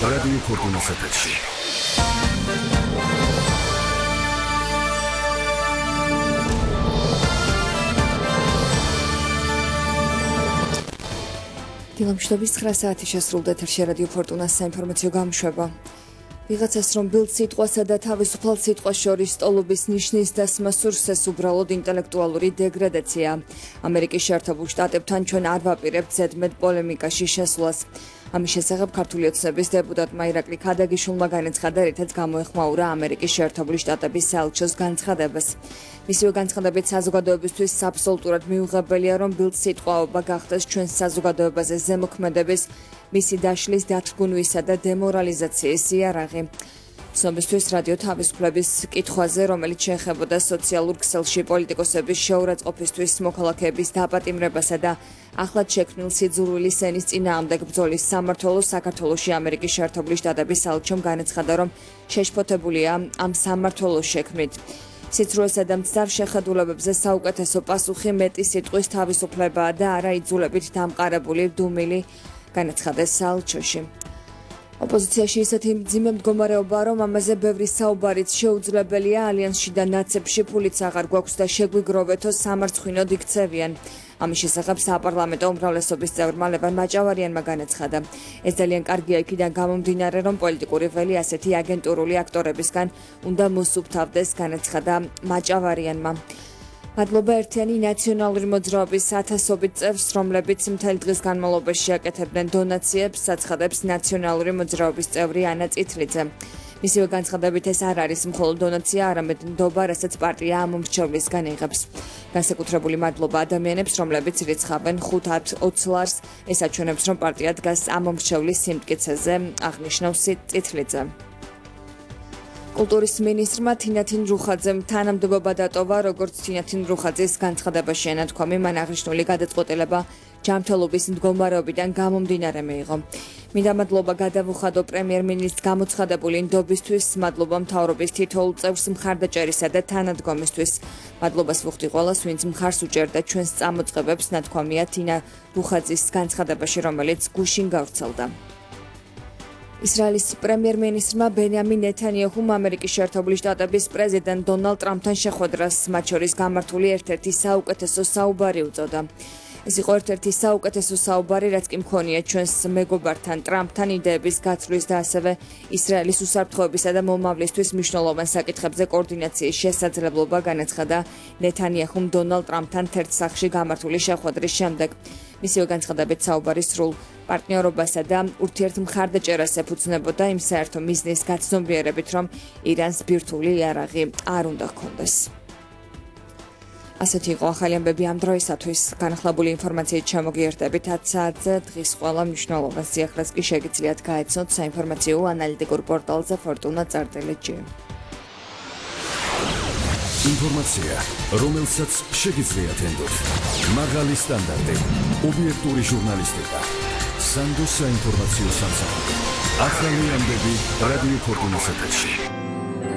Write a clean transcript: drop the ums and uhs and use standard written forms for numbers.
რადიო ფორტუნას ეთერში. დილამშვიდობის 9 საათი შესრულდა ეთერში რადიო ფორტუნას საინფორმაციო გამოშვება. ვიღაცას რომ ბილდ სიტყვასა და თავისუფალ სიტყვას შორის სტოლობის ნიშნის დასმა სურსეს უბრალოდ ინტელექტუალური დეგრადაცია. ამერიკის შეერთებულ შტატებთან ჩვენ არ ვაპირებთ ზედმეტ პოლემიკაში შესვლას. ამის შესახებ ქართული ოცნების დეპუტატმა ირაკლი ქადაგიშვილმა განაცხადა, რითაც გამოეხმაურა ამერიკის შეერთებული შტატების საელჩოს განცხადებას. მისივე განცხადებით საზოგადოებისთვის აბსოლუტურად მიუღებელია, რომ ბილდ სიტყვაობა გახდეს ჩვენს საზოგადოებაზე ზემოქმედების, მისი დაშლის, დათრგუნვისა და დემორალიზაციის იარაღი. ცნობისთვის რადიო თავისუფლების კითხვაზე, რომელიც შეეხებოდა სოციალურ ქსელში პოლიტიკოსების შეურაცხყოფისთვის, მოქალაქეების დაპატიმრებასა და ახლად შექმნილ სიძულვილის ენის წინააღმდეგ ბრძოლის სამმართველოს საქართველოში ამერიკის შეერთებული შტატების საელჩომ განაცხადა, რომ შეშფოთებულია ამ სამმართველოს შექმნით. სიცრუესა და მცდარ შეხედულებებზე საუკეთესო პასუხი მეტი სიტყვის თავისუფლებაა და არა იძულებით დამყარებული დუმილი, განაცხადა საელჩოში. ოპოზიციაში ისეთი მძიმე მდგომარეობაა, რომ ამაზე ბევრი საუბარიც შეუძლებელია. ალიანსში და ნაცებში ფულიც აღარ გვაქვს და შეგვიგროვეთო სამარცხვინოდ იქცევიან. ამის შესახებ საპარლამენტო უმრავლესობის წევრმა ლევან მაჭავარიანმა განაცხადა. ეს ძალიან კარგია იქიდან გამომდინარე, რომ პოლიტიკური ველი ასეთი აგენტურული აქტორებისგან უნდა მოსუფთავდეს, განაცხადა მაჭავარიანმა. მადლობა ერთიანი ნაციონალური მოძრაობის ათასობით წევრს, რომლებიც მთელი დღის განმავლობაში აკეთებდნენ დონაციებს, აცხადებს ნაციონალური მოძრაობის წევრი ანა წითლიძე. მისივე განცხადებით ეს არ არის მხოლოდ დონაცია, არამედ ნდობა, რასაც პარტია ამომრჩევლისგან იღებს. განსაკუთრებული მადლობა ადამიანებს, რომლებიც რიცხავენ 5-10 ლარს, ეს აჩვენებს, რომ პარტია დგას ამომრჩევლის სიმტკიცეზე, აღნიშნავს წითლიძე. კულტურის მინისტრმა თინათინ რუხაძემ თანამდებობა დატოვა, როგორც თინათინ რუხაძის განცხადებაში ენათქვამი, მან აღნიშნული გადაწყვეტილება ჯანმრთელობის მდგომარეობიდან გამომდინარე მიიღო. მინდა მადლობა გადავუხადო პრემიერ-მინისტრს გამოცხადებული ნდობისთვის, მადლობა მთავრობის თითოეულ წევრს მხარდაჭერისა და თანადგომისთვის. მადლობას ვუხდი ყველას, ვინც მხარს უჭერდა ჩვენს წამოწყებებს, ნათქვამია თინა რუხაძის განცხადებაში, რომელიც გუშინ გავრცელდა. ისრაელის პრემიერ-მინისტრმა ბენიამინ ნეთანიაჰუმ ამერიკის შეერთებული შტატების პრეზიდენტ დონალდ ტრამპთან შეხვედრას, მათ შორის გამართული ერთ-ერთი საუკეთესო საუბარი უწოდა. ეს იყო ერთ-ერთი საუკეთესო საუბარი, რაც კი მქონია ჩვენს მეგობართან ტრამპთან იდეების გაცვლის და ასევე ისრაელის უსაფრთხოებისა და მომავლისთვის მნიშვნელოვან საკითხებზე კოორდინაციის შესაძლებლობა, განაცხადა ნეთანიაჰუმ დონალდ ტრამპთან ერთ სახლში გამართული შეხვედრის შემდეგ. მისივე განცხადებით საუბარი სრულ პარტნიორობასა და ურთიერთმხარდაჭერას ეფუძნებოდა იმ საერთო მიზნის გაცნობიერებით, რომ ირანს ბირთვული იარაღი არ უნდა ჰქონდეს. ასეთი იყო ახალი ამბები ამ დროისათვის. განახლებული ინფორმაციით ჩამოგიერთებით 10 საათზე. დღის ყველა მნიშვნელოვან სიახლეს კი შეგიძლიათ გაეცნოთ საინფორმაციო ანალიტიკურ პორტალზე fortuna.gr. ინფორმაცია, რომელსაც შეგიძლიათ ენდოთ. მაღალი სტანდარტი, ობიექტური ჟურნალისტიკა, სანდო საინფორმაციო სამსახური. ახალი ამბები რადიო ფორტუნას ეთერში.